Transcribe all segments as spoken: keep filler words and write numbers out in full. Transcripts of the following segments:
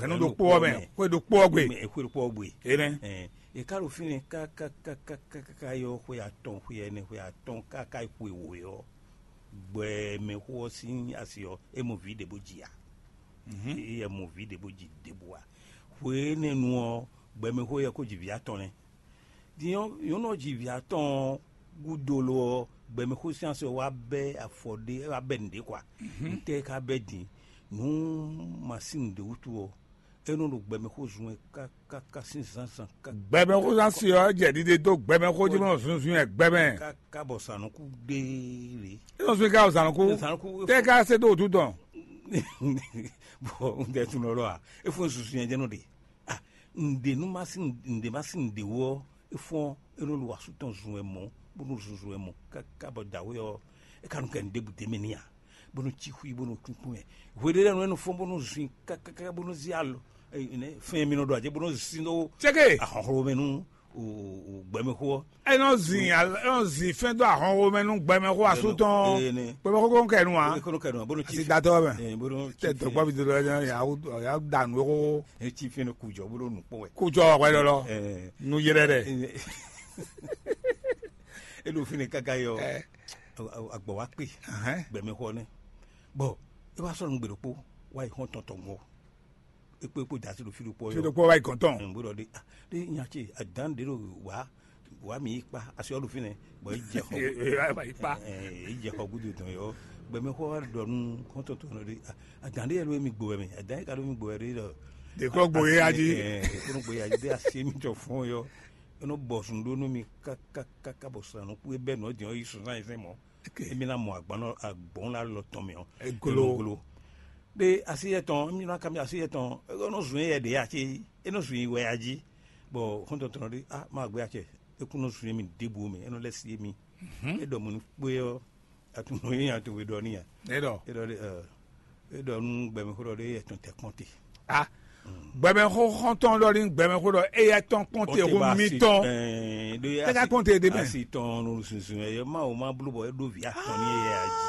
Ɛnu ɖokpó ɔ́ mɛ, xwé ɖokpó ɔ́ gbe. Xwé ɖokpó ɔ́ gbe. Énɛ́. Ɛ, e ka ɖo fínɛ́ kákákákáká yɔ xwe atɔn, xwe ɛnɛ, xwe atɔn káká yi xwe wǒ yɔ, gbɛmɛxó ɔ́ sín asi ɔ́, é mɔ vǐ ɖě bó ji ǎ. É yɛ mɔ vǐ ɖě bó ji ɖěbǔ ǎ. Xwe énɛ́ nu ɔ́, gbɛmɛxó yɛ ko ji vǐ atɔn nɛ́. Din ɔ́, nyɔ̌nu ɔ́ ji vǐ atɔn ɔ́ gúdo lo ɔ́, gbɛmɛxó sín asi ɔ́ wá bɛ́ afɔ ɖé, wá bɛ́ nǔɖé kwa. Ntɛ́ ka bɛ́ din? Nǔ masín ɖě wútu ɔ́, é nɔ ɖo gbɛmɛxó zun wɛ kákáká sín zǎnzǎn ká. Gbɛmɛxó zán si ɔ́ jɛ ɖiɖe dó gbɛmɛxó jí bó nɔ zunzun wɛ gbɛmɛ. Káká bɔ zǎnukú ɖé lě. É nɔ zun ká zǎnukú. Zǎnukú. Tɛ ká se dó wútu tɔn. Bɔn un tɛ tun lɔlɔ a, e fún zunzun yẹn jẹ nɔ ɖe. Ah, ǹdè nú má sín ǹdè má sín ǹdè wú ɔ́, é fɔ́n é nɔ lu asú tɔn zun wɛ mɔ̌, bó nɔ zunzun wɛ mɔ̌ káká bɔ dǎwe ɔ́, é ka nɔ kɛ nǔɖé bǔ d'é mɛ n'i ǎ, bó nɔ cí xwí bó nɔ kúnkún mɛ. Hweɖé lɛ́ɛ nɔ é nɔ fɔ́n bó nɔ zun i kákáká bó nɔ zí alɔ fɛn mi nɔ ɖo ajɛ bó nɔ zín dó Cɛ́kɛ! Ahɔnxlɔ́ mɛ nú gbɛmɛxó ɔ́. É nɔ zin al- é nɔ zin fɛn dó ahɔnxó mɛ nú gbɛmɛxó asú tɔn. Ee, ne. Gbɛmɛxó kɔn kɛ nu wa. Kɔnɔ kɛ nu wa bó nɔ ci asi datɔ mɛ. Ee, bó nɔ ci tɛ dɔgbɔ bi dodɔ ya ya da nu xó. E ci fɛn kujɔ bó nɔ nu kpɔn wɛ. Kujɔ wɛ lɔlɔ. Ee. Nu yɛrɛ dɛ. E ɖo fínɛ́ káká yɔ. Ɛ. Agbɔ wa kpe. Ahɛn. Gbɛmɛxó nɛ. Bɔn e wá sɔ́ nǔgbè ɖokpó wá yi xɔ́n tɔn tɔn gbɔ. E kpó e kpó da sí ɖo fí ɖokpó Fí yɔ. Ɖokpó wá yi gɔ̌n tɔn. Bó ɖɔ ɖe ah ɖe nya ce adán ɖe ɖo wá wá mi yi kpa asi ɔ́ ɖo fínɛ́ bɔ é jɛ xɔ. Wá yi kpa. Ɛ, é jɛ xɔ gúdo tɔn yɔ. Gbɛmɛxó wá ɖɔ nú xɔ́ntɔn tɔn ɖɔ ɖe ah, adán ɖe yɛ ɖo mi gbo wɛ mɛ adán yɛ ka ɖo mi gbo wɛ ɖe ɖɔ. Ɖeklɔ gbo ye ya jí. Ɛ, ɖeklɔ gbo ye ya jí ɖe asi mi tɔ fɔn yɔ. E nɔ bɔ zun ɖó nú mi kákákáká bɔ sanu kú e bɛ nɔ din ɔ yi sunzan yi fɛn mɔ. Emi ná mɔ agbɔn agbɔn la lɔ tɔn mɛ ɔ. Eglo. Eglo. Ɖe asi yɛ tɔn mi ná kami asi yɛ tɔn e nɔ zun yɛ ɖe ya ce e nɔ zun yi wɛ ya jí. Bɔ xɔntɔn tɔn ɖe ah ma gbé acɛ e kún nɔ zun mi ɖěbǔ mɛ e nɔ lɛ si mi. E ɖɔ mo ní kpé ɔ atunɔ yín ato e ɖɔ ní ya. E ɖɔ. E ɖɔ ɖe ɛ e ɖɔ nú gbɛmɛxó ɖɔ ɖe yɛ tɔn tɛ kpɔn te. Ah, gbɛmɛxó xɔntɔn ɖɔ ní gbɛmɛxó ɖɔ eya tɔn kpɔn te xó mi tɔn. Tɛ ka kpɔn te ɖe mɛ. Asi tɔn nu zunzun ɛ ma o ma blo bɔ e ɖo vi atɔn ni yɛ aji.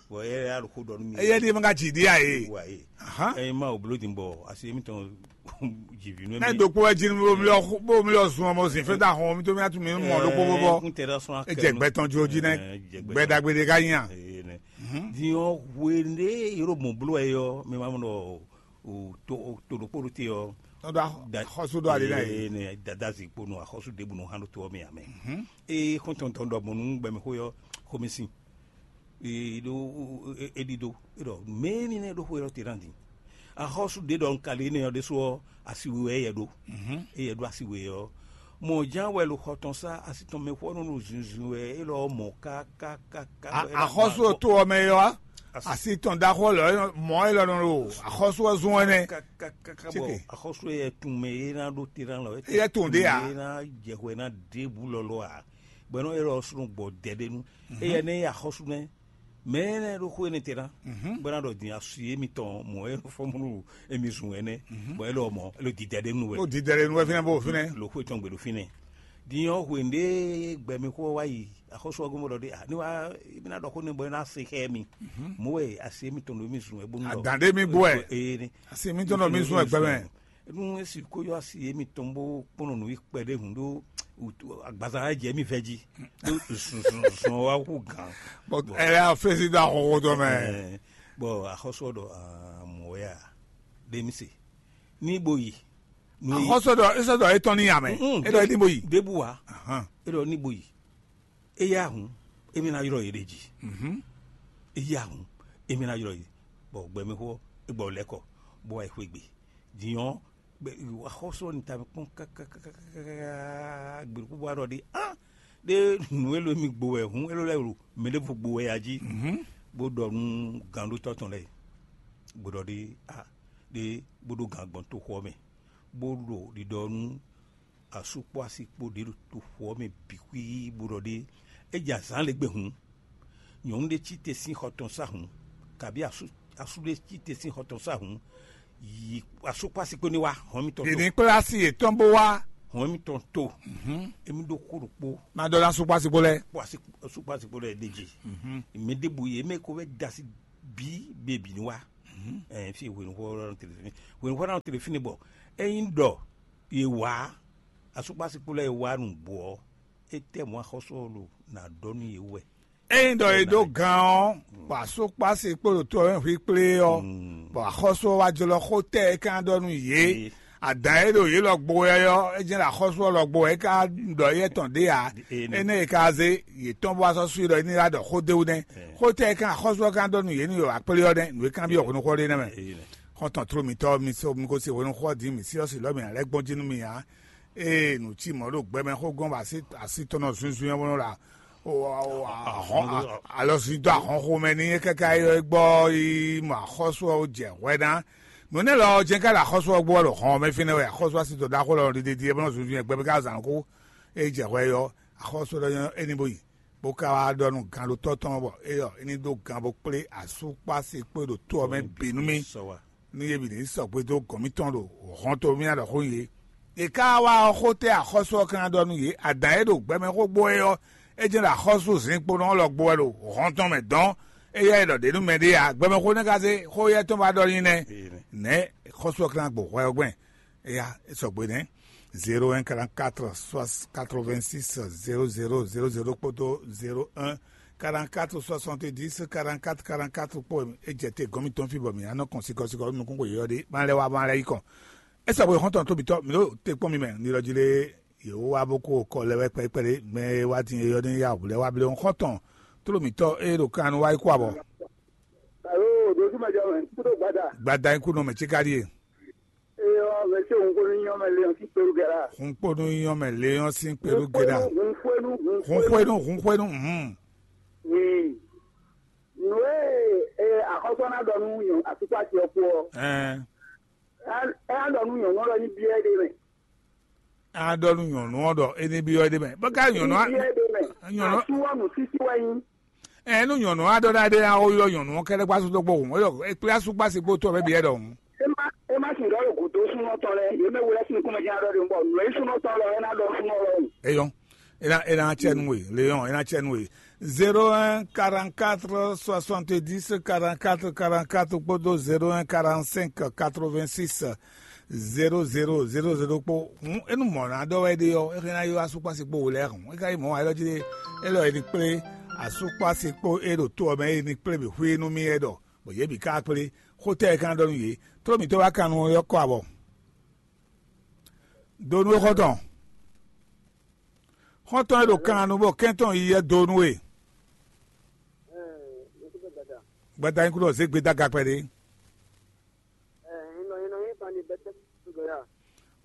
Bɔ e ya ɖo xó ɖɔ nú mi. Eya ɖi ma ka dzi ɖi a ye. Wa ye. Ahan. E ma o blo din bɔ asi mi tɔn dzi vi nú mi. Ne ɖokpó wɛ dzi nú mi lɔ zun ɔmɔ zin fɛ da hɔn mi to mi atu mi mɔ ɖokpó bɔ. Kun tɛ ɖɔ sɔn akɛ. E jɛ gbɛ tɔn jo dzi nɛ. Gbɛ dagbe de ka nya. Din ɔ hwe ɖe yɔrɔ mɔ blo ɛ yɔ mi ma mɔ ɖɔ o to o to ɖokpó ɖo te ɔ. Tɔn do axɔsu do ali na ye. Ne dada zi kpo nɔ axɔsu ɖebu nɔ hã ɖo to ɔ mɛ amɛ. Eye xɔntɔntɔn ɖɔ mɔ nú gbɛmɛ xó yɔ xomisi. Ee ɖo e ɖi ɖo e ɖɔ mɛ ni nɛ ɖo xó yɔ te na din. Axɔsu ɖe ɖɔ nkali ne yɔ ɖe so ɔ asi we wɛ yɛ ɖo. Eye ɖo asi we ɔ mɔ jan wɛ lo xɔ tɔn sa asi tɔn mɛ xɔ nɔ ɖo zunzun wɛ e lɔ mɔ kákákáká. Axɔsu to ɔmɛ yɔ asi tɔn ɖaxɔ lɔ mɔ e lɔ nɔ ɖo axɔsu ɔzun ɛnɛ. Kaka bɔ axɔsu yɛ tun mɛ ye na ɖo te na lɔ. Eyɛ tun ɖe a? Ye na jɛ xɔ ye na ɖe bu lɔlɔ a? Bɔ ɛnɔ e lɔ sunu gbɔ dɛ ɖe nu. Eyɛ ne ye axɔsu nɛ mɛ ne ɖo xɔ ye ne te na. Bɔ na ɖɔ din asu ye mi tɔn mɔ e fɔmulu emi zun ɛnɛ. Bɔ e lɔ mɔ e lɔ didɛ ɖe nu wɛ. O didɛ ɖe nu wɛ finɛ bo finɛ. Lo xɔ tɔn gbe ɖo finɛ. Din ɔ hwe nde gbɛmɛ xɔ wa yi axɔsu ɔgɔmɔ ɖɔ ɖe a ne wa ebi na ɖɔ xɔ ne bɔ e na se xɛ mi. Mo wɛ asi mi tɔn ɖo mi zun ɛ bonu ɖɔ. Adan ɖe mi bɔ ɛ. Ee ne. Asi mi tɔn ɖo mi zun ɛ gbɛmɛ. Nu esi ko yɔ asi yé mi tɔn bó kpɔnɔ nǔ yi kpɛɖé hǔn ɖó agbaza jɛ mi vɛ jí ɖó zɔn wa kú gàn. Ɛ yà fèsì dó ahɔhɔ dɔ mɛ. Bɔn axɔsɔ ɖɔ mɔ ya ɖe mi se ní bo yi. Axɔsɔ ɖɔ esɔ ɖɔ etɔn ní yà mɛ. Edɔ ní bo yi. Ɖebu wa. Edɔ ní bo yi. Eya hǔn, émí ná ylɔ́ yě ɖ'é jí. Eya hǔn, émí ná ylɔ́ yě. Bɔ gbɛmɛxó ɔ́, é gbɔ lɛ́ kɔ, bó wá yi xwé gbe. Din ɔ́, axɔ́sú ɔ́ nyi ta mɛ kpɔ́n káká gběɖokpó bó wá ɖɔ ɖi á ɖé nǔ élɔ́ émí gbo wɛ hǔn élɔ́ lɛ́ɛ ɖo mɛ ɖěvo gbo wɛ a jí, bó ɖɔ nú gǎnɖótɔ́ tɔn lɛ́ɛ, bó ɖɔ ɖi á ɖé bó ɖó gǎn gbɔn toxo ɔ́ mɛ, bó ɖo ɖiɖɔ nú asú kpó asi kpó ɖě ɖo toxo ɔ́ mɛ bǐ xwíí bó ɖɔ ɖé. É jɛ azǎn lě gbe hǔn, nyɔ̌nu ɖé cí te sín xɔ tɔn sá hǔn, kabí asú asú ɖé cí te sín xɔ tɔn sá hǔn, yi asú kpó asi kpó ní wá hɔn mitɔn Yě to. Ní kplá asi yětɔn bó wá. Hɔn mitɔn to. Émi ɖó xó ɖokpó. Má ɖɔ ná asú kpó asi kpó lɛ́ɛ. Kpó asi asú kpó asi kpó lɛ́ɛ ɖe jí. Mi ɖěbǔ yě mɛ ko wɛ da asi bí bebǐ ní wá. Ɛɛ, fi hwenuxɔ ɔ́ nɔ te ɖo fínɛ́. Hwenuxɔ ɔ́ nɔ te ɖo fínɛ́ bɔ ényí ɖɔ yě wá asúkpásíkpó lɛ́ɛ yě wá nǔgbó ɔ́, étɛ́ mɔ̌ axɔ́sú ɔ́ ɖo ná ɖɔ nú yě wɛ? Ényí ɖɔ è ɖó gan ɔ́, bɔ asúkpásíkpó ɖo to ɔ́ mɛ hwíkplé ɔ́, bɔ axɔ́sú ɔ́ wá jlɔ́ xó tɛ́ e ka ɖɔ nú yě. Adǎn e ɖo yě lɔ gbo wɛ ɔ́, é jɛ́n ɖo axɔ́sú ɔ́ lɔ gbo wɛ é ka ɖɔ éyɛ́ tɔn ɖě ǎ. Énɛ́ e ka zé yě tɔn bó wá sɔ́ sú i ɖɔ é ní wá ɖɔ xó d'é wú nɛ́. Xó tɛ́ e kan axɔ́sú ɔ́ ka ɖɔ nú yě nú yě wǎ kplé ɔ́ nɛ́, nǔ e kan byɔ́ hwenuxɔ ɖé nɛ́ mɛ. Xɔ́ntɔn tló mitɔ́, mi sɔ́ mi ko se hwenuxɔ din, mǐ sí ɔ́ si lɔ̌ mǐ ná lɛ́ gbɔn jí nú mi ǎ. Ée nǔ cí mɔ̌ ɖo gbɛ mɛ xó gɔ́n bɔ así tɔn nɔ zunzun ɔ́ nɔ ɖo alɔzin dó ahɔnxo mɛ n'i é káká ylɔ́ é gbɔ yi mɔ axɔ́sú ɔ́ jɛ hwɛ ná. Nǔ énɛ́ lɔ ɔ́ jɛ́n ká ɖo axɔ́sú ɔ́ gbɔ ɖo hɔn ɔ́ mɛ fínɛ́ wɛ axɔ́sú así tɔn ɖaxó lɔ ɖiɖiɖi é bɔ nɔ zunzun ɛ gbɛ mɛ ká zǎn xó. É jɛ hwɛ ɔ́, axɔ́sú lɔ nyɔ́ é ní bó yi, bó ka wá ɖɔ nú gannɖótɔ́ tɔn ɔ́ bɔ éyɔ é ní ɖó gan bó kplé asúkpási kpé ɖo tó ɔ́ mɛ bǐ nú mì. Ní yě bǐ ní sɔgbe dó gɔ̌n mitɔn ɖo hɔn to mì ná ɖɔ xó nyi yě. È ka wá ɔ́, xó tɛ́ axɔ́sú ɔ́ ka ná ɖɔ nú yě? Adǎn e ɖo gbɛ mɛ xó gbó é ɔ́, é jɛ́n ɖo axɔ́sú zǐnkponɔ ɔ́ lɔ gbo wɛ ɖo hɔn tɔn mɛ dɔn. Éyɛ́ è ɖɔ ɖě nú mɛɖé ǎ, gbɛmɛxó nɛ́ ka zé xó éyɛ́ tɔn ba ɖɔ n'i nɛ́. Nɛ̌ xɔ́sú ɔ́ ka ná gbo hwɛ ɔ́ gbɛn? Éyá, é sɔgbe nɛ́. Zéro un quarante quatre quatre vingt six zéro zéro zéro zéro kpódó zéro un quarante quatre soixante dix quarante quatre quarante quatre kpó. É jɛ te gɔ́n mitɔn fí bɔ mǐ ná nɔ kɔn sikɔsikɔ nukún xwe yɔ́ ɖé, má lɛ́ wá má lɛ́ yi kɔn. É sɔgbe xɔ́ntɔn tóbitɔ́, mǐ ɖo te kpɔ́n mi mɛ, ní lɔ jí lé yě wá bó kó kɔ lɛ́ wɛ kpɛ́kpɛ́ ɖé, mɛ e wá din é yɔ́ ní yá wǔ lɛ́ wá blé xɔ́ntɔn tló mǐtɔn e ɖo kan nu wá yi kó abɔ. Alo, ɖo súnmɛjɔ mɛ, kúɖó gbada. Gbada nyí kú nɔ mɛ cíká ɖíe. Eyɔ, mɛ ce òun kó ní nyɔ mɛ lé ɔn sí pelu gɛla. Hun kpónú nyɔ mɛ lé ɔn sín kpelú gɛla. Hun fwenu, hun Hun fwenu. Xwenu, hun xwenu, hum. Wi. Nǔ e e axɔ́sɔ ná ɖɔ nú nyɔ àtúkpàtì ɔkú ɔ. Ɛɛ. Ɛ á ɖɔ nú nyɔ̌nu ɔ́ ɖɔ ní byɔ́ ɛ ɖe mɛ. A ɖɔ nú nyɔ̌nu ɔ́ ɖɔ é ní byɔ́ é ɖé mɛ. Bó ka nyɔ̌nu á, Ní byɔ́ ɛ ɖe mɛ. Nyɔ̌nu Asú ɔ́ nǔ sísí wɛ nyí. Ɛ nú nyɔ̌nu á ɖɔ ɖa ɖé ná ó ylɔ́ nyɔ̌nu ɔ́ kɛ́ɖɛ́ gbású dó gbɔhùn, é ɖɔ é kplé asúgbásí gbó tó ɔ́ bɛ́ byɔ́ ɖɔhun. É má é má sixú ɖɔ ɖo gǔdo súnnu ɔ́ tɔn lɛ́ɛ, yě mɛ we lɛ́ɛ sín nukúnmɛ jɛ́n ná ɖɔ ɖe bɔ nǔ e súnnu ɔ́ tɔn lɔ é ná ɖɔ súnnu ɔ́ lɔhùn. Eyɔn, é ná é ná cɛ nú we, Léon, é ná cɛ nú we. Zéro un quarante quatre soixante dix quarante quatre quarante quatre kpódó zéro un quarante cinq quatre vingt six zéro zéro zéro zéro kpó. Hǔn é nú mɔ̌ ná ɖɔ wɛ ɖe ɔ́, é hɛn ná ylɔ́ asúkpási kpó wo lɛ́ɛ hǔn. É ka nyí mɔ̌ ǎ, élɔ́ jí ɖe, élɔ́ e ní kplé asúkpási kpó é ɖo to ɔ́ mɛ é ní kplé mǐ xwí nú mì é ɖɔ, bɔ yě bǐ ka kplé. Xó tɛ́ e ka ɖɔ nú yě? Tló mǐtɔn wá kan nu ɔ́ kɔ abɔ. Do nú é xɔ́ntɔn. Xɔ́ntɔn e ɖo kan nu bɔ kɛ́ntɔn yi yɛ do nú we. Gbada nyí kúɖɔ zé gbe dó aga kpɛɖé.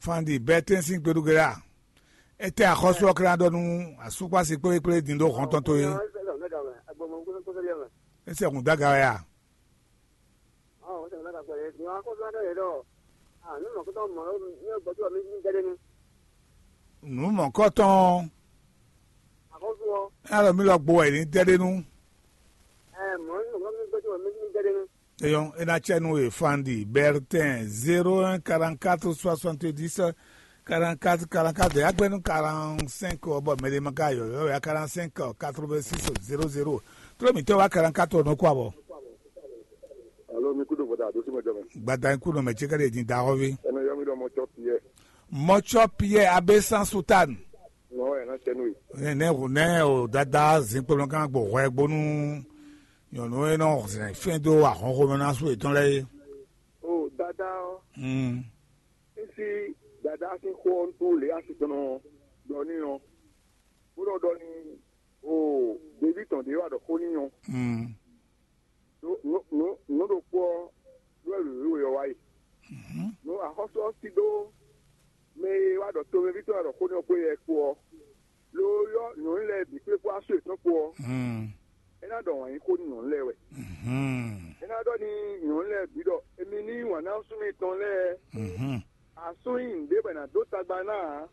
Fandi bɛtɛn sín kpeɖugbe la. Etɛ axɔ́sú ɔ́ kla ɖɔ nú asúkpási kplékplé din ɖó hɔn tɔn towe. Ese hun dó aga wɛ a? Nǔ mɔ̌kɔtɔn ɔ́, é ná ɖɔ mí lɔ gbo wɛ è ní dɛ ɖé nú. Eyɔn, é ná cɛ nú we Fandi Bertin, zéro un quarante quatre soixante dix quarante quatre quarante quatre, ya gbɛ́ nú quarante cinq ɔ́, bɔ mɛɖé ma ka yɔ̌yɔ́ ya quarante cinq quatre vingt six zéro zéro. Tló mǐtɔn wá quarante quatre ɔ́ nɔ kó abɔ. Alo, mi kudo bɔda do sima jɔmɛ. Gbada kú nɔ mɛ tsi kɛɖɛ din da xɔvi. Ɛnɛ yɔ mi dɔ mɔ tsɔ piɛ. Mɔtsɔ Pierre abe sans soutane. Nɔ ɛna cɛ nui. Ne ne ne o dada zinkpolɔ kan gbɔ hwɛ gbonu. Nyɔnu e nɔ zɛn fɛn do ahɔnxo mɛ na su etɔn lɛ ye. O dada ɔ. Mm. Esi dada si xɔ ŋutu le asi tɔn nɔ dɔ ni ɔ. Bó nɔ dɔ ni o bebi tɔn de wa dɔ xó ni ɔ. Mm. Nǔ ɖokpó ɔ́ ɖó wɛ wěwé ɔ́ wá yi. Nú axɔ́sú ɔ́ sí ɖó mɛ e wá ɖɔ tomɛví tɔn wá ɖɔ xó n'i ɔ́ kpó yɛ kpó ɔ́, ló ylɔ́ nyɔ̌nu lɛ́ɛ bǐ kplé kpó asú yětɔn kpó ɔ́, é ná ɖɔ wǎn yí xó nú nyɔ̌nu lɛ́ɛ wɛ. É ná ɖɔ n'i nyɔ̌nu lɛ́ɛ bǐ ɖɔ: "Emi ní yí wǎn ná asú mitɔn lɛ́ɛ, asú nyí nǔɖé bɔ è nǎ dó tagba ná ǎ."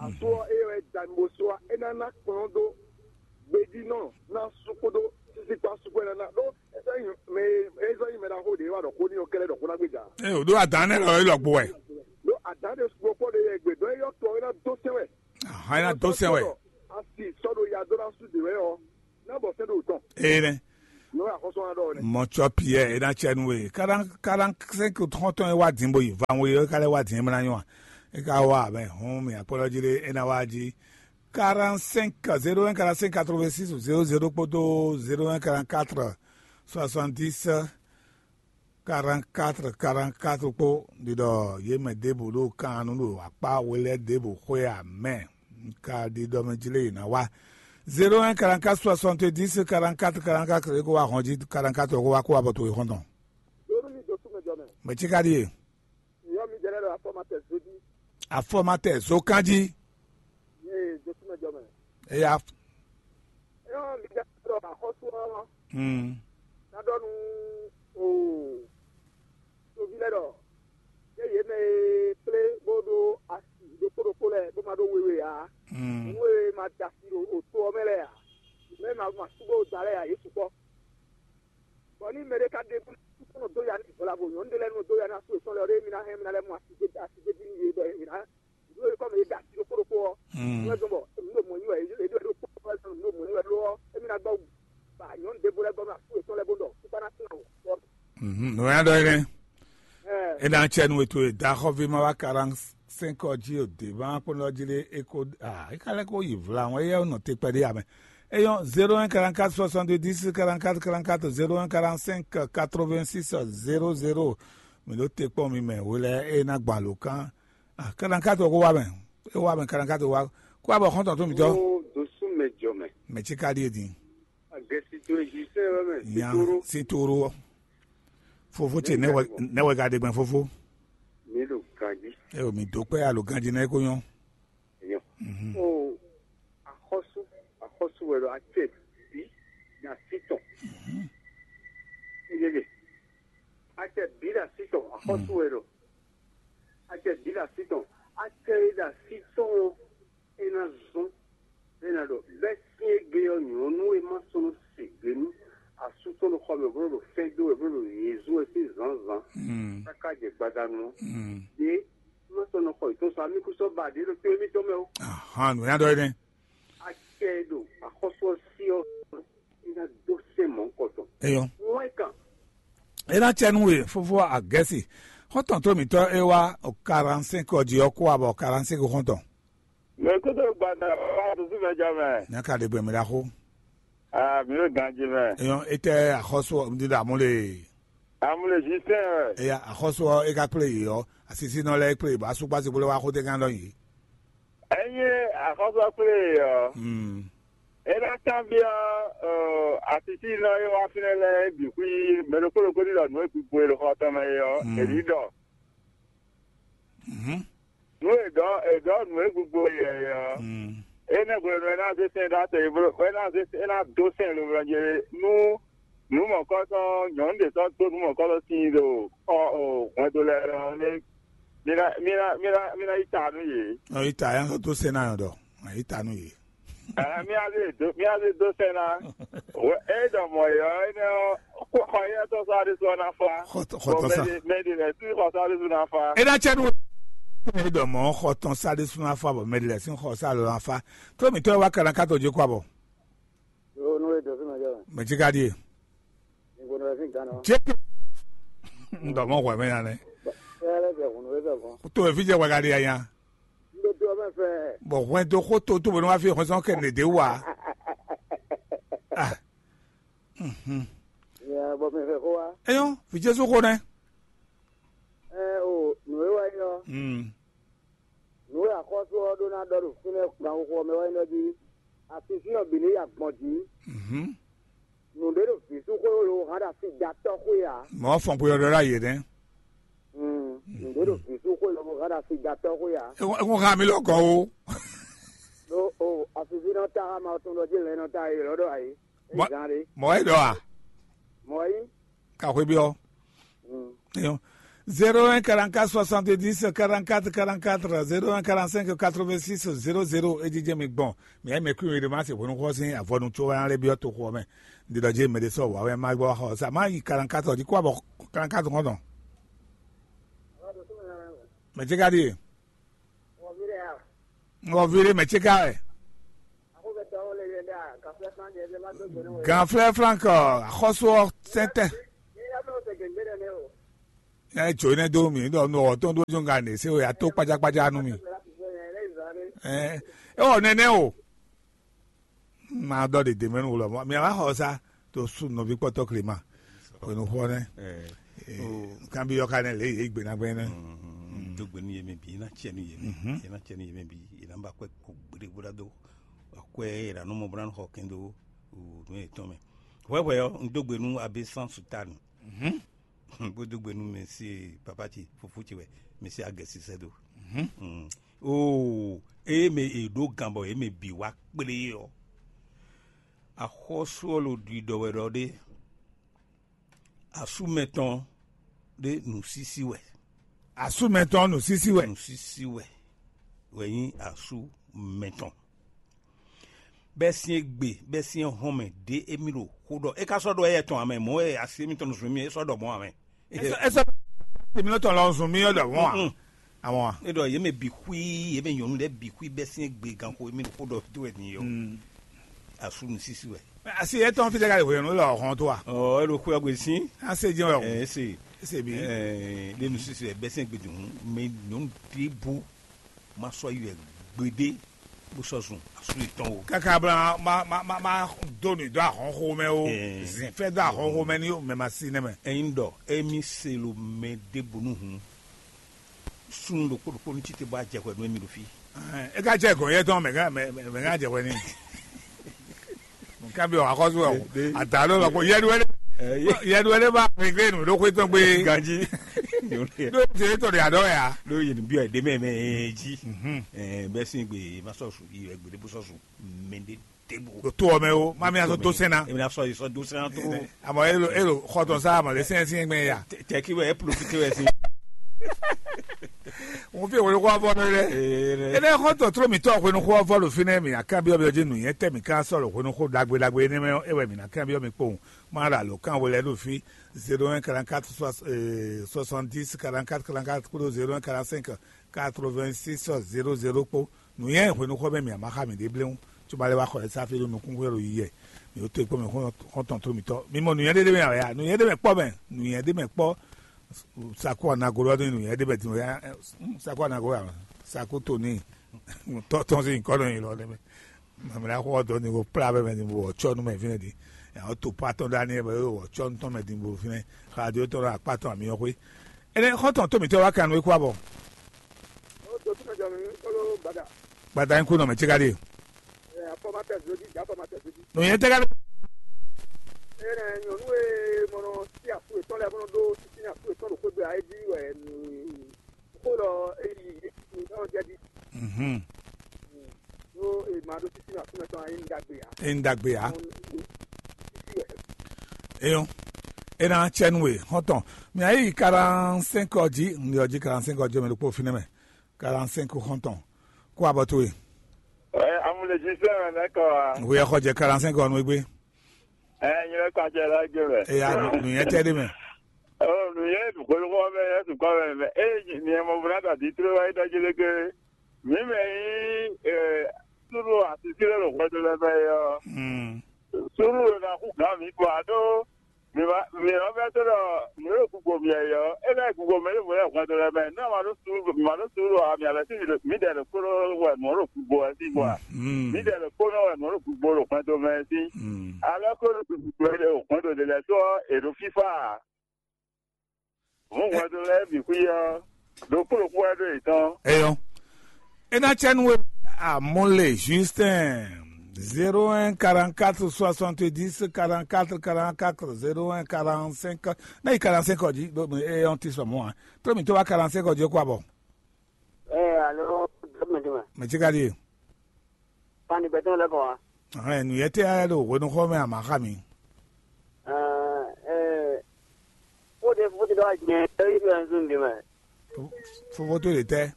Asú ɔ́, eye wɛ da mi bó sú ɔ́, é ná ná kplɔ́n dó gbejínɔ ná sú kpódó sísí kpó asú kpó é ná ná ɖó é sɔ́ nyí mɛ e é sɔ́ nyí mɛ ɖaxó ɖě wá ɖɔ xó n'i ɔ́ kɛ́ɖɛ́ ɖɔ xó ná gbéjà. Ée wòɖó adǎn nɛ́ lɔ é lɔ gbo wɛ. Ɖó adǎn ɖé sugbó kpɔ́ ɖé yɛ gbe ɖɔ é yɔ́ tɔ é ná dó sɛn wɛ. Ahan é ná dó sɛn wɛ. Asi sɔ́ ɖo ya dó ná sú dě wɛ ɔ́, ná bɔ sɛn ɖo tɔn. Ee nɛ. Nú axɔ́sú ɔ́ ɖɔ nɛ́. Mɔcɔ Piyɛ é ná cɛ nú we. Kaɖan kaɖan sɛ́nki xɔ́ntɔn e wá din bó yi van we ɔ́, é ka lɛ́ wá din é mlá nyɔ́ a? É ka wá mɛ hɔn mì akpɔ́lɔ́ jí ɖé é ná wá jí. Quarante-cinq, zéro un quarante-cinq quatre-vingt-six zéro zéro kpódó zéro un quarante-quatre soixante-dix quarante-quatre quarante-quatre kpó ɖiɖɔ yě mɛ ɖěbǔ ɖo kan nú ɖo akpá we lɛ́ɛ ɖěbǔ xwé amɛ. Ka ɖiɖɔ mɛ jí lé yě ná wá. Zéro un quarante-quatre soixante-dix quarante-quatre quarante-quatre é ko wá hɔn jí quarante-quatre ko wá kó wá bɔ to e xɔ́ntɔn. Yónú mi dó súnmɛ jɔ mɛ. Mɛ cí ka ɖíe. Yɔ mi jɛ lɛ ɖo afɔmatɛ zodi. Afɔmatɛ zokán jí. Yé dó súnmɛ jɔ mɛ. Eya. Yɔ mi jɛ lɛ ɖo axɔ́sú ɔ́. Hmm. Ná ɖɔ nú o toví lɛ ɖɔ yé yě mɛ e kplé bó ɖó asi ɖokpó ɖokpó lɛ́ɛ bó ma ɖó wewe ǎ. Hmm. Nú e ma da asi ɖo oto ɔ́ mɛ lɛ́ɛ ǎ. Mɛ ma ma sú bó da lɛ́ɛ ǎ, yě sukpɔ́. Bɔ ní mɛɖé ka ɖe kúnɔ dó ya ní vɔlavo nyɔ̌nu ɖé lɛ́ɛ nɔ dó ya ní asú yětɔn lɛ́ɛ ɔ́, ɖé mi ná hɛn mi ná lɛ́ mɔ asi dé asi dé dín yě bɔ yě ná dúró yě kɔ mɛ yě da asi ɖokpó ɖokpó ɔ́. Mm. Wɛ gbɔn bɔ nǔ ɖo mɔ nyi wɛ yě ɖo ɖokpó wɛ sɔn nǔ ɖo mɔ nyi wɛ ló ɔ́, émi ná gbɔ ba nyɔ̌nu ɖěvo lɛ́ɛ gbɔ nú asú yětɔn lɛ́ɛ bó ɖɔ kúkú ná sín awɔ. Mhm, nǔ ya ɖɔ é nɛ́. Ɛ, É ná cɛ nú we towe daxɔví ma wá quarante-cinq ɔ́ jí o dě ma kpɔ́n ɔ́ jí ɖé é ko ah é ka lɛ́ kó yi vla ɔ́ éyɛ́ nɔ te kpɛɖé amɛ. Eyɔ́ zéro un quarante-quatre soixante-dix quarante-quatre quarante-quatre zéro un quarante-cinq quatre-vingt-six zéro zéro. Mi ɖo te kpɔ́n mi mɛ hwe lɛ́ɛ é ná gbɔn alǒkan. Ah, quarante-quatre ɔ́ ko wá mɛ. É wá mɛ quarante-quatre wá. Kó abɔ xɔ́ntɔn tó mǐtɔn. Ó dó sú mɛ jɔ mɛ. Mɛ cí ka ɖíe din. Agɛsito Egiptɛn wɛ mɛ. Nya Sitoro. Sitoro. Fofo ce nɛwɛ nɛwɛ ka ɖe gbɛn fofo. Mi ɖo ganji. Ɛ o mi dó kpɛ alo ganji nɛ ko nyɔ. Nyɔ. Mhm. O axɔsu axɔsu wɛ ɖo acɛ bi na sitɔn. Mhm. Egege. Acɛ bi na sitɔn axɔsu wɛ ɖo. Acɛ bi na sitɔn. Acɛ yi na sitɔn. É ná zɔ́n, é ná ɖɔ bɛ́ sín égbé ɔ́ nyɔ̌nu e ma sɔ́ nɔ se gbe nú asú tɔn ɖo xɔ mɛ bó nɔ ɖo fɛ́n dó wɛ bó nɔ ɖo yězú wɛ sín zǎnzǎn káká jɛ gbadanu ɔ́. Ɖě má sɔ́ nɔ xɔ yětɔn sɔ amíkúsɔ́ ba ɖě ɖo tó émítɔn mɛ ó. Ahan, nǔ ya ɖɔ é nɛ́. Acɛ e ɖo axɔ́sú ɔ́ sí ɔ́, é ná dó sɛn mɔ̌hunkɔtɔn. Eyɔn. Wɛn kan. É ná cɛ nú we fófó agɛ́si. Xɔ́ntɔn tó mǐtɔn é wá quarante-cinq ɔ́ jí ɔ́ kó wá bɔ quarante-cinq xɔ́ntɔn. Mɛ kúndé gbada wá dúdú mɛ jɔ mɛ. Nya ka ɖe gbɛ mɛ ɖaxó. Ah, mi ɖo ganji mɛ. Eyɔn, étɛ́ axɔ́sú ɔ́, ɖi ɖo amú le. Amú le jí sɛn wɛ. Eya, axɔ́sú ɔ́, é ka kplé yě ɔ́, asisínɔ lɛ́ɛ é kplé yě, bɔ asúkpá si kplé wá xótégán ɖɔ yě. Enyi axɔ́sú ɔ́ kplé yě ɔ́, Hmm. é ná kanbyɔ́ asisínɔ e wá fínɛ́ lɛ́ɛ é bǐ xwí mɛ ɖokpó ɖokpó ní ɖɔ nǔ e gbigbo e ɖo xɔ tɔn mɛ é ɔ́, Hmm. è ní ɖɔ. Mhm. Nú è ɖɔ è ɖɔ nǔ e gbogbo yɛ ɔ́, Mm. Énɛ́ hwenu e é ná zé sɛn ɖó atɛ e bló é ná zé é ná dó sɛn lomlɔ ce nú nǔ mɔ̌kɔ́tɔn nyɔ̌nu ɖě sɔ́ dó nǔ mɔ̌kɔ́tɔn sin ɖo xɔ hwɛndo lɛ́ɛ ɔ́ nɛ́. Mi ná mi ná mi ná mi ná yi ta nú yě. Ɔ, yi ta ya sɔ́ dó sɛn ná yɔn ɖɔ. Yi ta nú yě. Ɛ, mía zé dó mía zé dó sɛn ná. É ɖɔ mɔ̌ é ɔ́ énɛ́ ɔ́ xɔ yɛ́tɔ́ sɔ́ aɖésú ɔ́ ná fá. Xɔtɔn xɔtɔn sa. Mɛ ɖé lɛ́ɛ sí xɔ sɔ́ aɖésú ná fá. É ná cɛ nú é ɖɔ mɔ̌ xɔtɔn sa aɖésú ná fá bɔ mɛ ɖé lɛ́ɛ sín xɔ sa lɔ ná fá. Tó mǐtɔn e wá kana ká tɔ́ jí kó abɔ. Yo nú é dó fí mɛ jɔ. Mɛ jí ká ɖíe. Ìgbóná rẹ̀ sí gánà. Jẹ́ ń dọ̀ mọ́ hwẹ́ mẹ́ ya lẹ. Ẹ lẹ bẹ̀ hùn ló bẹ̀ gan. Tó ẹ fi jẹ́ wá ká ɖí ya. Ń bẹ tó ọmọ fẹ́. Bọ̀ hwẹ́ tó kó tó tó bọ̀ ní wá fi hwẹ́ sọ́n kẹ́ ní dé wá. Ah. Mhm. Ìyá bọ̀ mi fẹ́ kó wá. Eyɔn, fi Jésù kó nɛ. Ẹ o, nù é wá yọ. Mm. Nǔ e axɔ́sú ɔ́ ɖó ná ɖɔ ɖo fínɛ́ ganxixo ɔ́ mɛ wɛ nyí ɖɔ jí asisínɔ bǐ ní yi agbɔ̌n jí. Mhm. Nǔɖé ɖo vǐ sú xwé lo hán ɖo asi da tɔ́ xwé ǎ. Mɔ̌ fɔn xwe ɔ́ ɖɔ ɖ'ayǐ nɛ́. Mm, nǔɖé ɖo vǐ sú xwé lo hán ɖo asi da tɔ́ xwé ǎ. É kún hán mi lɔ gɔ́ o. Ɖó o asisínɔ ta há ma tún ɖɔ jí lɛ̌nɔ ta e lɔ̌ ɖɔ ayǐ. Mɔ̌ é ɖɔ a? Mɔ̌ é nyí. Ka xwé byɔ́. Mm. Eyɔn. Zéro un quarante-quatre soixante-dix quarante-quatre quarante-quatre, zéro un quarante-cinq quatre-vingt-six zéro zéro, é jijɛ mi gbɔn. Mi ayé mɛ kúnyɔ ɖe ma se hwenu xɔ sín avɔnu tso wá lé byɔ́ toxo ɔ́ mɛ. Ndi ɖɔ jɛ mɛ ɖe sɔ wá wɛ ma gbɔ xɔ sa ma yi quarante-quatre ɔ́ jí kó abɔ quarante-quatre kɔn dɔn. Mɛ tse ka ɖi e? Ŋgɔ vi ɖe mɛ tse ka wɛ? Ganflɛ́ Frank, axɔ́sú ɔ́ sɛntɛ́. Ɛ jǒ énɛ́ dó mì ɖɔ nú ɔ́ tɔn ɖó jó ŋga nǐ se wɛ ató kpajákpajá nú mì. Ɛ é wɔ nɛnɛ o. Ma ɖɔ ɖe dě mɛ nú wulɔ mɔ mi wá xɔ sá to sú nɔví kpɔtɔ Clément hwenu xɔ nɛ. Kan bi yɔ ka nɛ lě yě gbe na gbɛ nɛ. Dó gbe nú yě mɛ bǐ, yě ná cɛ nú yě mɛ, yě ná cɛ nú yě mɛ bǐ, yě ná ba kwɛ kó gbeɖé bó ná dó akwɛ yě ná nɔ mɔ bó ná xɔ kɛn dó nǔ yětɔn mɛ. Hwɛhwɛ ɔ́, un dó gbe nú Abé San Sutanu. Bó dó gbe nú mɛ sí papa ce fofó ce wɛ mɛ sí agɛsisɛ dó. Oo, eye mɛ è ɖó gan bɔ yě mɛ bǐ wá kplé ɔ́, axɔ́sú ɔ́ lo ɖiɖɔ wɛ ɖɔ ɖé. Asú mɛtɔn ɖé nǔsísí wɛ. Asú mɛtɔn nǔsísí wɛ. Nǔsísí wɛ wɛ nyí asú mɛtɔn. Bɛ́ sín égbé, bɛ́ sín éhɔ́nmɛ ɖě émí ɖo xó ɖɔ. É ka sɔ́ ɖɔ éyɛ́ tɔn ǎ mɛ, mɔ̌ wɛ asi émítɔn nɔ zun mí é sɔ́ ɖɔ mɔ̌ ǎ mɛ. Ɛ sɔ́ ɛ sɔ́ tèmi nɔ tɔn lɔ zun mì ɔ́ ɖɔ mɔ̌ ǎ. Àwọn a. É ɖɔ yě mɛ bǐ xwí, yě mɛ nyɔ̌nu lɛ́ɛ bǐ xwí bɛ́ sín égbé ganxo émí ɖo xó ɖɔ tó wɛ din yɔ. Asú nǔsísí wɛ. Asi etɔn fi tɛ ka ɖe hwenu lɔ hɔn to a? Ɔ é ɖo xwé ɔ́ gbe sín. Ase jɛn wɛ o. Ɛ ese. Ese bi. Ɛ ɖe nǔsísí wɛ bɛ́ sín égbé din hǔn mɛ nyɔ̌nu ɖěbǔ ma sɔ́ yi wɛ gbeɖé bó sɔ́ zun asú yětɔn o. Káká bla ma ma ma ma dó nǔ dó ahɔnxó mɛ o. Zǐnfɛ́ dó ahɔnxó mɛ ní mɛ ma sí nɛ́ mɛ. Ényí ɖɔ émí se lo mɛ ɖěbǔ nú hǔn, súnnu ɖokpó ɖokpó ní títí bó ajɛ hwɛ nú émí ɖo fí. É ka jɛ gɔn yɛ tɔn mɛ ká mɛ mɛ ká jɛ hwɛ ní. Nka bi wà kɔsù wɛ o. Ada ló lɔ ko yɛdu wɛlé yɛdu wɛlé bá réglé nu ɖó xwé tɔn gbé. Ganji. Ɖó tɛ tɔ de adɔ ya. Ɖó yìí bí ɛdè mɛ mɛ jí. Bɛ sin gbé ma sɔ su yi ɛgbɛ de bó sɔ su mɛ de de bo. To ɔmɛ o ma mi asɔ to sɛn na. Èmi na sɔ yi sɔ do sɛn na tó. Àmọ́ elo elo xɔtɔn sá àmọ́ lè sɛn sɛn gbɛ ya. Tɛ kí wɛ ẹ polofite wɛ sí. Òun fi ìwé kó afɔ lórí rẹ. Ene xɔtɔn tró mi tɔ hwenu xó afɔ lò fi nɛ mi akábíyɔ bí ọjí nù yẹn tẹ mi ká sọ̀rọ̀ hwenu xó dagbe dagbe ene mɛ ewɛ mi na kábíyɔ mi kpowun. Má ra lò kán wọlé lò fi zéro un quarante quatre soixante dix quarante quatre quarante quatre kúrò zéro un quarante cinq quatre vingt six zéro zéro kpó. Nǔnywɛ́ hwenu xɔ mɛ mi a ma xa mi ɖe bléwún, tso ma lɛ wá xɔ ɛ sáfí ɖo nukún xwé ɖo yiyɛ. Mi ó to kpɔ́ mɛ xɔ́ntɔn tó mitɔ́. Mi mɔ nǔnywɛ́ ɖé ɖé mɛ ǎ ya, nǔnywɛ́ ɖé mɛ kpɔ́ mɛ, nǔnywɛ́ ɖé mɛ kpɔ́. Sakó anago ɔ́ ɖó nǔnywɛ́ ɖé mɛ din ya. Sakó anago ya, sakó to ní tɔ́ tɔn sí nyǐkɔ nɔ nyi lɔ ɖé mɛ. Mamlá xɔ dɔ ni ko kplá bɛ mɛ ni bo wɔ tsɔ nu mɛ fínɛ di. Ya o to pa tɔn dani bɛ o wɔ tsɔ nu tɔn mɛ di bo fínɛ. Radio tɔn akpa tɔn ami yɔ xwé. Ene xɔtɔn to mitɔ wa kan we kwa bɔ. O to tun jɔ mi kolo bada. Bada in ku nɔ mɛ tsi ka di. Ɛ afɔmatɛ zodi ja afɔmatɛ zodi. No yɛ tɛ ka di. Ene nyɔnu e mɔnɔ si afu etɔn lɛ mɔnɔ do sisi afu etɔn do xwegbe ayi di wɛ nu. Xó lɔ eyi nɔ jɛ di. Mhm. Ɖó e ma ɖó títí na súnmɛ tɔn ayi ŋɖagbe ǎ. E ŋɖagbe ǎ. Eyɔn. Ena tsɛnu e xɔntɔn. Mi ayi quarante-cinq ɔdzi, ŋdi ɔdzi quarante-cinq ɔdzi mɛ ɖokpó finɛ mɛ. Quarante-cinq xɔntɔn. Kó abɔ towe. Ɛ amúlejì sẹ́wọ̀n lẹ́kọ̀ọ́ wa. Ŋu yɛ xɔ jɛ quarante-cinq ɔnu egbe. Ɛ nyɛ lɛ kpacɛ la gbe mɛ. Eya nu yɛ tɛ de mɛ. Ɔ nu yɛ hwenu kɔ mɛ yɛ sukɔ mɛ mɛ. E ni ɛ mɔ buna da di tló wa yi dɔji lé ke. Mi mɛ yi ɛ suru asisi lɛ lo hwɛdo lɛ mɛ yɔ. Hmm. Suru lo na ku gan mi kɔ ado. Mi ma mi ɔ bɛ to dɔ mi lo kugbo mi yɔ. E bɛ kugbo mi lo hwɛdo lɛ mɛ. Na ma do suru ma do suru a mi a bɛ si mi dɛ lo kuro wɛ mɔ lo kugbo wɛ si bɔ. Hmm. Mi dɛ lo kuro wɛ mɔ lo kugbo lo hwɛdo mɛ si. Hmm. Alɔ ko lo kugbo lo hwɛdo de lɛ sɔ e do fifa. Hɔn hwɛndo lɛ́ɛ bǐ xwí ɔ́, ɖokpó ɖokpó wɛ ɖo yětɔn. Eyɔn. Ena tsɛnu we amole Justin zéro un quarante quatre soixante dix quarante quatre quarante quatre zéro un quarante cinq. Na yi quarante cinq ɔdzi ɖo eyɔn ti sɔmɔ a. Trɔ mi to wa quarante cinq ɔdzi kó abɔ. Ɛ alo dɔmɛdɔmɛ. Mɛ tsi ka di. Fani gbɛtɔn lɛ kɔ wa. Ɛhɛn, nǔyɛ́tɛ́ lɛ́ɛ ɖo hwenuxɔ mɛ a mǎ xa mi? Ɛɛ, ɛɛ, fóde fóde ɖɔ jɛ ɖɔ yi ɖo ɛnzun ɖe mɛ. Fofó tó ɖe tɛ́?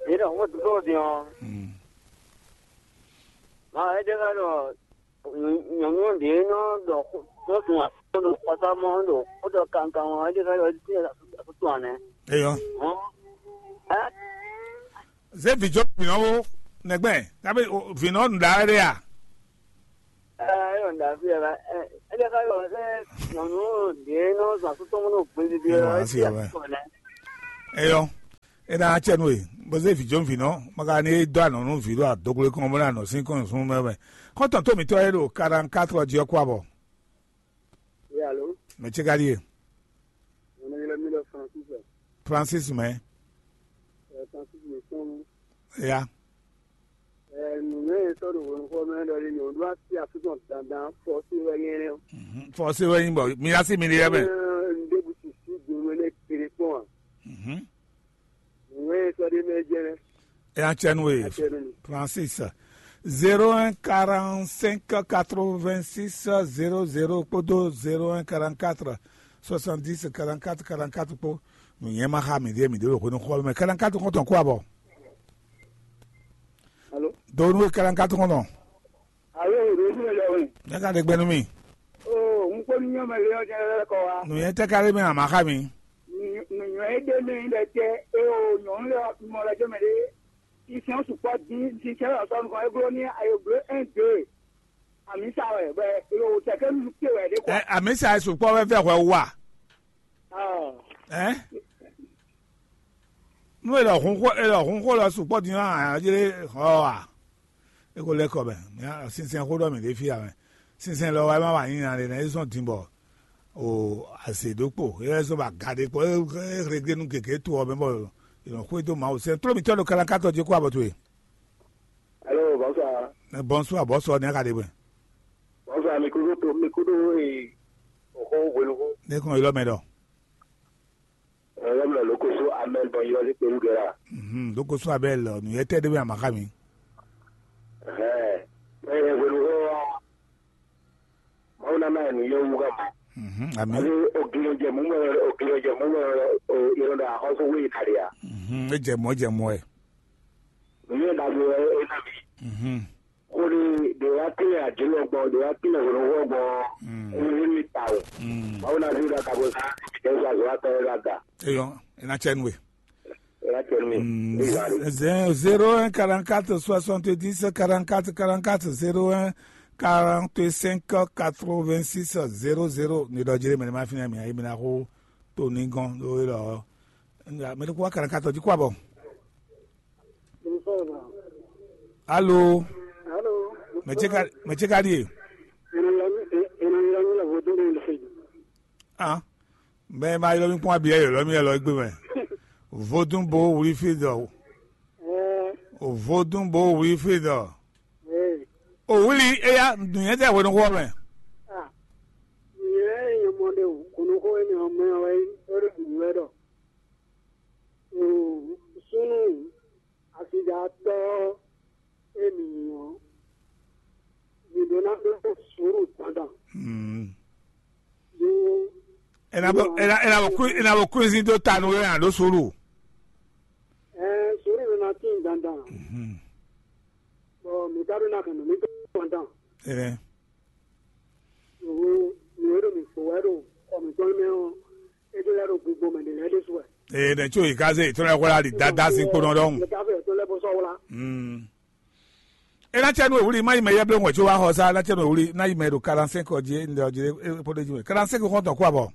Yě ɖɔ fóde tó din ɔ́. Hmm. Ma é ɖe ká ɖɔ nyɔ̌nu ɖě nɔ ɖɔ xó nɔ sun afɔ ɖo xɔsámɔ ɖo xó ɖɔ kankan ɔ́, é ɖe ká ɖɔ é ɖi asú tɔn ǎ nɛ́. Eyɔ. Hɔn. Ɛ? Zé vǐjɔ vǐnɔ wo nɛgbɛ, kabe vǐnɔ nǔɖaɖɛ a? Davi ɛ ɛ ɛ ɛ ká yɔ ɛ nyɔnu ɖě nɔ zɔn asú tɔn nɔ gbédédé Yɔ, ɔ asi ɛ ɔmɛ. Kɔ nɛ. Eyɔ, e na acɛ nu e, bó zé vǐ jó vǐ nɔ, ma ka ní dó anɔ nú vǐ ɖo adógblé kɔn bó ná nɔ sín kɔn nǔsúnnú mɛ mɛ. Xɔ́ntɔn tó mǐtɔn e ɖo quarante-quatre jí ɔ́ kú abɔ. Oui, allô. Mɛ ce ka ɖíe? Mon nom est Francis. Francis mɛ. Euh, Francis Messon. Ya. Nǔnywɛ́ e sɔ́ ɖo hwenu xɔ mɛ ɖɔ ɖi nyɔ̌nu asi asútɔ dandan fɔsi wɛ nyɛ nɛ. Fɔsi wɛ nyí bɔ mi asi mi ɖi yɛ mɛ. Ndébu sisi dunu ne kiri kpɔn a? Nǔnywɛ́ e sɔ́ ɖi mɛ jɛ nɛ. E acɛnu e. Francis. Zéro un quarante-cinq quatre-vingt-six zéro zéro kpódó zéro un quarante-quatre soixante-dix quarante-quatre quarante-quatre kpó. Nǔnyɛ ma xa mi ɖi mi ɖo hwenu xɔ mɛ quarante-quatre kɔntɔn kó abɔ. Alo. Donu e quarante-quatre kɔntɔn. Alo, ɖo fún mi lɛ wɛ. Ne ka ɖe gbɛnu mi. O, n kpó ní nyɔmɛ lé ɔ́ jɛ lɛ kɔ wa. Nǔnyɛ tɛ ka ɖe mi ama xa mi. Nǔnyɛ e ɖe mi ɖe tɛ e o nyɔnu lɛ mɔ lɛ jɔ mɛ ɖe. Isin sukpɔ dín, sinsɛn lɔ sɔ nukɔn e glo ní ayo glo un deux. Amisa wɛ bɛ lo tɛkɛ nu te wɛ ɖe kɔ. Ɛ amisa e sukpɔ wɛ vɛ hwɛ wa. Ɔ. Ɛ. Nu e lɔ hun xo e lɔ hun xo lɔ sukpɔ din ɔ́ a jlé xɔ a? E ko lɛ kɔ mɛ. Mia sinsɛn xo ɖɔ mi ɖe fi a mɛ. Sinsɛn lɔ wa e ma wa nyi na ɖe nɛ e zɔn din bɔ o azě ɖokpó e zɔn ba ga ɖe kpɔ e hleglénu gěgé to ɔ mɛ bɔ e nɔ xwedó Mawu sɛn tló mitɔ́ ɖo kálákátɔ jí kó abɔ towe. Hello, bonsoir. Bonsoir, bonsoir, ne ka ɖe bɛ. Bonsoir, mi kudo to, mi kudo e oxo hwenuxu. Ne kɔn ilɔ mɛ ɖɔ. Ɛɛ, yɔ mlɔ loko so amɛn bɔn yɔ le kpelu gɛra. Mhm, loko so abɛ lɔ nu yɛ tɛ de bɛ amaxa mi. Ɛɛ, ɛɛ, hwenuxu wa. Mawu na ma nu yɛ wu ka ma. Mhm, ami. Ani o gilo jɛ mu mɛ, o gilo jɛ mu mɛ, o yɔrɔ da xɔso wo yi kari ya. Mhm, e jɛ mɔ, e jɛ mɔ ɛ. Nu yɛ da bo e na mi. Mhm. Kuli ɖe wá tílẹ̀ àjínlẹ̀ gbɔn, ɖe wá tílẹ̀ hwenu wɔ gbɔn. Mm. Eyi mi ta o. Mm. Mawu na fi ɖa kabo sa, ɖe sa zɔ atɔ ɖe la da. Eyɔ, ena tsɛ nue. Ena tsɛ nue. Mm, zé-, zéro un quarante-quatre soixante-dix quarante-quatre quarante-quatre, zéro un quarante-cinq quatre-vingt-six zéro zéro. Ni ɖɔ jere mɛ ne ma fi na mi ayi mi na xo to ni gɔn do e lɔ. Nga mɛ ko quarante-quatre di ko abɔ. Alo. Alo. Mɛ ce ka, mɛ ce ka ɖie? Ena yɔrɔ mi, ena yɔrɔ mi la vodun de le fɛ. Ah. Mɛ ma ylɔ mi kpɔn abi yɛ ylɔ mi yɛ lɔ egbe mɛ. Vodun bo wuli fi dɔ. Ɛɛ. O vodun bo wuli fi dɔ. Ɛɛ. O wuli eya dunyɛ tɛ hwenu xɔ mɛ. Ah. Yɛ yɛ mɔ de o, kunu ko ene o mɛ o e o de dunyɛ dɔ. Súnnu asidatɔ́ e mǐ nyí ɔ́, mǐ ɖó ná ɖó sùúrù dandan. Mm. Ɖó Ena bo, ena, ena bo kú-, ena bo kúnzin dó ta nú wɛ a ɖó sùúrù. Ɛɛ, sùúrù nɔ ná tín dandan. Mhm. Bɔ mǐ ka ɖó ná hɛn nǔ mǐtɔn dandan. Ene. Nǔ nǔ e ɖo mǐ fo wɛ ɖo xɔ mǐtɔn mɛ ɔ́, é ɖó lɛ́ ɖo gbogbo mɛ ɖě lɛ́ɛ ɖésú wɛ. Ee, nɛ tso yi ka se yi tɔn lɛ xɔ la ɖi dada si kpo nɔ ɖɔhun. Ɖeka fɛ tó lɛ bó sɔ́ wla. Mm. E na cɛ nu ewuli ma yi mɛ yɛ ble ŋwɛ tso wa xɔ sa na cɛ nu ewuli na yi mɛ ɖo quarante-cinq ɔ dzi e ndɛ ɔ dzi e po ɖe dzi mɛ quarante-cinq xɔntɔn kó abɔ.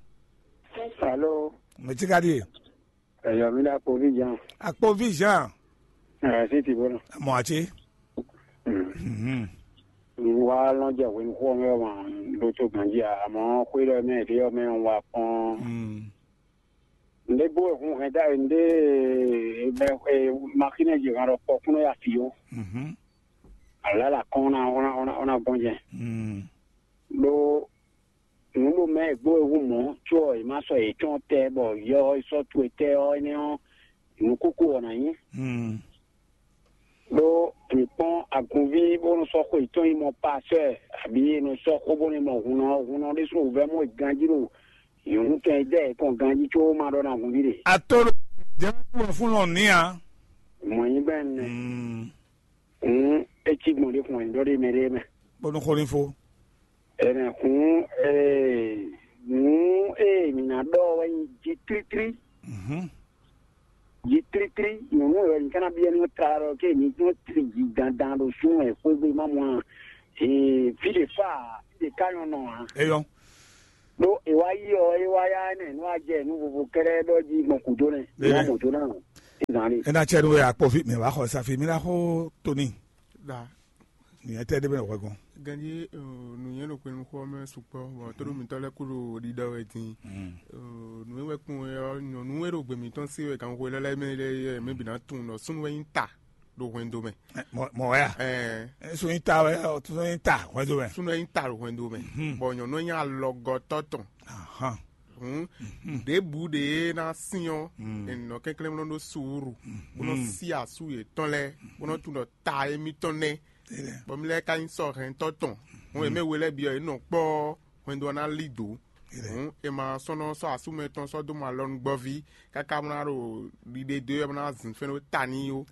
Alo. Mɛ tsi ka ɖi e. Eyɔ mi ɖo akpovi Jean. Akpovi Jean. Ɛɛ si ti bolo. Mɔ atsi. Mhm. Wa lɔn jɛ hwenu xɔ mɛ ma ɖo to ganji a, amɔ xwe ɖɔ mɛ ɖe yɔ mɛ wa kpɔn. Mm. Nde bo hun hɛn da nde mɛ maxine ji han ɖɔ kpɔ kúnɔ ya fi o. Mhm. Ala la kɔn na ona ona ona gbɔn jɛ. Mm. Ɖo nǔ ɖo mɛ gbó ewu mɔ̌, có è má sɔ́ yětɔn tɛ́ bɔ yɔ e sɔ́ towe tɛ́ ɔ́, énɛ́ ɔ́, nǔ kúkú wɔ nǎ nyí. Mm. Ɖó mǐ kpɔ́n agunví bó nɔ sɔ́ xó yětɔn nyí mɔ pasɛ́, abǐ è nɔ sɔ́ xó bó nɔ mɔ hunnɔ, hunnɔ ɖésú wǔvɛ́ mɔ ganjí ɖo nyɔ̌nu tɔn e dɛ yě kɔn ganjí có ma ɖɔ ná hunví ɖe. Ato ɖo jɛ wɔ fún lɔ ní a. Mɔ̌ nyí bɛ́ nɛ. Mm. Hǔn é cí gbɔn ɖě xɔn ɖɔ ɖé mɛ ɖé mɛ. Bónú xó ní fó. Ɛnɛ hǔn ee nǔ e mǐ ná ɖɔ wɛ nyí jí tlítlí. Mhm. Jí tlítlí nyɔ̌nu wɛ nyí ká ná byɔ́ ní tlá ɖɔ ké mǐ tún tri jí dandan ɖo sú mɛ xwégbe má mɔ a. Ee, fí ɖe fá, fí ɖe ká nyɔ́ nɔ ǎ. Eyɔn. Ɖó è wá yí ɔ, é wá yá nɛ nú a jɛ nú vovo kɛ́ɖɛ́ ɖɔ jí gbɔn kúdó nɛ. Eye. Wá mɔ dó ná. Zan ni. Ena cɛ nu ya kpɔ fi mɛ wá xɔ safi mi na xo toni. Da. Ni ɛtɛ de bɛ wɛ gɔn. Ganji, nùnyɛn ɖo kpenu xɔ mɛ sukpɔ bɔn tó ɖo mitɔ lɛ kú ɖo ɖiɖɔ wɛ din. Nù wɛ kún wɛ ɔ nyɔnu wɛ ɖo gbemi tɔn se wɛ kan xwe lɛlɛ mɛ lɛ mɛ bi na tun nɔ sunu wɛ nyi ta ɖo hwɛndo mɛ. Mɔ wɛ ya. Ɛɛ. Sunu nyi ta wɛ ɔ sunu nyi ta hwɛndo mɛ. Sunu wɛ nyi ta ɖo hwɛndo mɛ. Bɔn nyɔnu wɛ nyi alɔgɔtɔ tɔn. Hun. Ɖěbǔ ɖě ná syɔ́n, è nɔ kɛnklɛ́n mlɔ́ ɖó suúru, bó nɔ sí asú yětɔn lɛ́ɛ, bó nɔ tunwun ɖɔ ta émítɔn nɛ́, bɔ mì lɛ́ɛ ka nyí sɔ́hɛntɔ́ tɔn. Hɔn e mɛ we lɛ́ɛ byɔ́ yě nɔ kpɔ́ hwɛndo ɔ́ ná lí dǒ. Hǔn è ma sɔ́ nɔ sɔ́ asú mɛ tɔn sɔ́ dó mɔ alɔnugbɔ́ví káká bó ná ɖo ɖiɖe dó é bó ná zǐn fɛ́n ɖó ta n'i ó.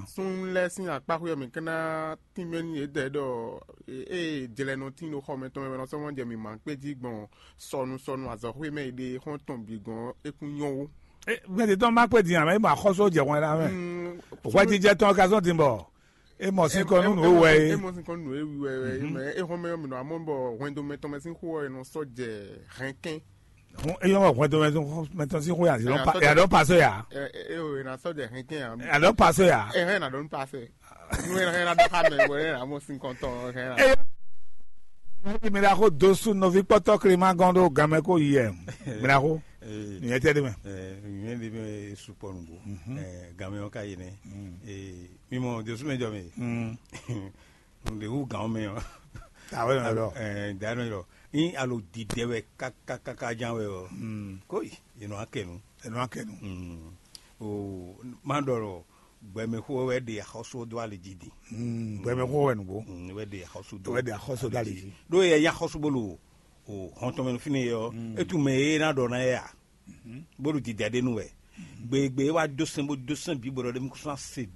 Súnnu lɛ́ɛ sín akpáxwé ɔ́ mǐ ka ná tínmɛ n'i yědɛɛ ɖɔ ée jlɛ nɔ tín ɖo xɔ mɛ tɔn mɛ wɛ nɔ sɔ́ mɔ jɛ mǐ ma kpé jí gbɔn sɔnu sɔnu azɔxwé mɛ e ɖe xɔ́n tɔn bǐ gɔ́n é kún nyɔ́ ó. Gbɛtɔ́ má kpé din ǎ, é ma xɔ́sú jɛ hwɛn ɖa mɛ. Hwɛjijɛ tɔn ka zɔn din bɔ é mɔ sín kɔ nú nǔ e wɛ é. É mɔ sín kɔ nú nǔ e wɛ é mɛ é xɔ́n mɛ ɔ́ mǐ nɔ amɔ bɔ hwɛndo mɛ tɔn mɛ sín xó ɔ́ è nɔ sɔ́ jɛ hɛnkɛn. Hɔn é yɔn hwɛndo mɛ tɔn sín xó yà dɔn pasɔ yà. É o è nà sɔ́ jɛ hɛnkɛn yà. Yà dɔn pasɔ yà. É hɛn nà dɔn pasɛ. Nú é hɛn ná dɔn xá mɛ bɔ é nà mɔ sín kɔn tɔn hɛn. Eye mi ɖaxó dosu nɔví kpɔtɔ Clément gɔn ɖo gamɛ ko yi ɛ mi ɖaxó. Nyɛ tɛ ɖe mɛ. Nyɛ ɖe mɛ sukpɔ nugbo. Gamɛ ɔ́ ka yi nɛ. Mi mɔ dosu mɛ jɔ mɛ. Nde wu gan mɛ ɔ. Awɛ nɔ lɔ. Ɛɛ dan nɔ lɔ. Ni alo didɛ wɛ kakakaka jan wɛ ɔ. Ko yi yenɔ akɛnu. Yenɔ akɛnu. O ma ɖɔ lɔ gbɛmɛxó wɛ ɖe axɔsó dó ali jí di. Gbɛmɛxó wɛ nugbo. Wɛ ɖe axɔsó dó. Wɛ ɖe axɔsó dó ali jí. Ɖó yɛ ya xɔsó bolo o hɔntɔn mɛ fínɛ yɛ ɔ. Etu mɛ e na ɖɔ na yɛ a. Bó ɖo dida ɖé nu wɛ. Gbegbe e wá dó sɛn bó dó sɛn bǐ bɔ ɖɔ ɖé mi kó sɔ́ se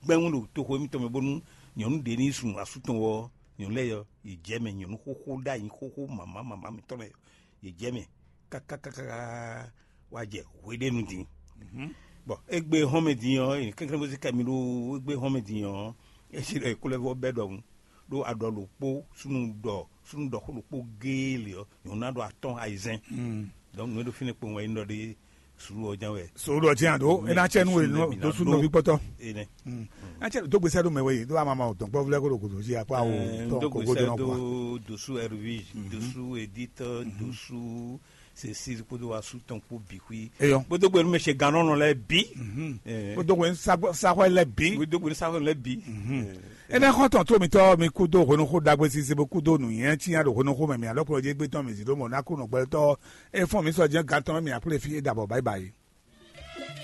gbɛ́ŋu ɖo toxo émítɔn mɛ bónú nyɔ̌nu ɖě ní yi sun asú tɔn wɔ nyɔ̌nu lɛ́ɛ yɔ, yě jɛ mɛ nyɔ̌nu xóxó ɖ'ayǐ xóxó mama mama mǐtɔn lɛ́ɛ yɔ, yě jɛ mɛ kákákákáká wá jɛ hweɖénu din. Bɔn égbé hɔn mɛ din ɔ́, kɛnklɛ́n bó sí kɛ mi ɖó égbé hɔn mɛ din ɔ́, é sí ɖɔ é kó lɛ́ vɔ bɛ́ ɖɔhun ɖó aɖɔ ɖokpó súnnu ɖɔ súnnu ɖɔxó ɖokpó géé lě ɔ́, nyɔ̌nu ná ɖo atɔ́n ayizɛ́n. Donc nǔ e ɖo fínɛ́ kpowun wɛ nyí ɖɔ ɖé sulu ɔ́ ján wɛ. Sulu ɔ́ ján ɖó é ná cɛ nú we dó súnnu nɔví kpɔ́tɔ́. Ná cɛ dó gbèsè ɖó mɛ wɛ yìí ɖó amama ò dɔn gbɔ́vlɛ́ kó ɖo gòdò jí akpá o tɔn kò gó jɔnɔ kpó. Dosu Hervé, Dosu Edith, Dosu Cécile kpódó asú tɔn kpó bǐ xwí. Eyɔn. Kpódó gbɛnú mɛ ṣe gannɔnɔ lɛ bí. Kpódó gbɛnú saxɔ lɛ bí. Kpódó gbɛnú saxɔ lɛ bí. Ene xɔntɔn tó mitɔ mi kú dó hwenuxó dagbe sise bó kú dó nǔnywɛ́ cyán ɖo hwenuxó mɛ mi alɔ kplɔ́ jɛ gbé tɔn mi zǐ ɖó mɔ ná kú nɔ gbɛtɔ́ e fɔn mi sɔ jɛ gan tɔn mɛ mi akplé fí é dabɔ báyìí báyìí.